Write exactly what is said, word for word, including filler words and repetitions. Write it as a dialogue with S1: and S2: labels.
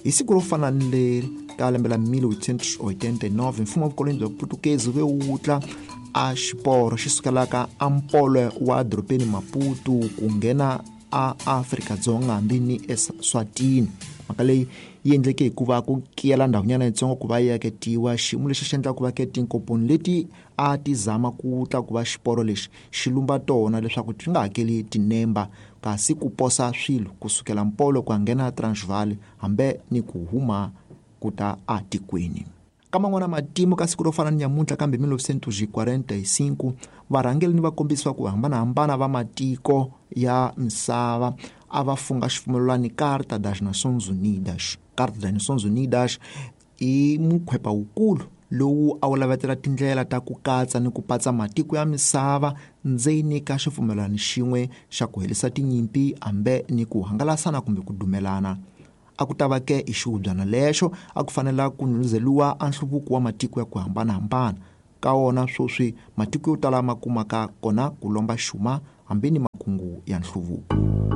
S1: Hi siku ro fana ni leri ka lembe la mil oitocentos oitenta e nove, mfumo wa vukoloni bya Putukezi wu ve wu tla a xiporo xi sukelaka ampolo wa dorobeni Maputo ku nghena a Afrika-Dzonga hambi ni eSwatini. Mhaka leyi yi endleke hikuva ku kiyela ndhawunyana yitsongo ku va yi aketiwa. Xiyimo lexi xi endla ku va ke tinkomponi leti a ti zama ku tla ku va xiporo lexi xi lumba tona leswaku ti nga hakeli tinemba, kasi ku posa swilo kusukela mpolo ku ya nghena Transvaal hambi ni ku huma ku ta atikweni. Ka man'wana matimu ka siku ro fana ni nyamuntlha kambe mil novecentos e quarenta e cinco, varhangeri ni vakombisi va ku hambanahambana va matiko ya misava a va funga xipfumelelano Carta das Nações Unidas. Carta das Nações Unidas i mukhwepa wukulu lowu a wu lavetela tindlela ta ku katsa ni ku patsa matiko ya misava ndzeni ka xipfumelelano xin'we xa ku herisa tinyimpi hambi ni ku hangalasana kumbe ku dumelana. A ku ta va ke i xihubyana lexo a ku fanela ku nhundzeliwa a nhluvuko wa matiko ya ku hambanahambana. Ka wona sweswi matiko yo tala ma kumaka kona ku lomba xuma hambi ni makungu ya nhluvuko.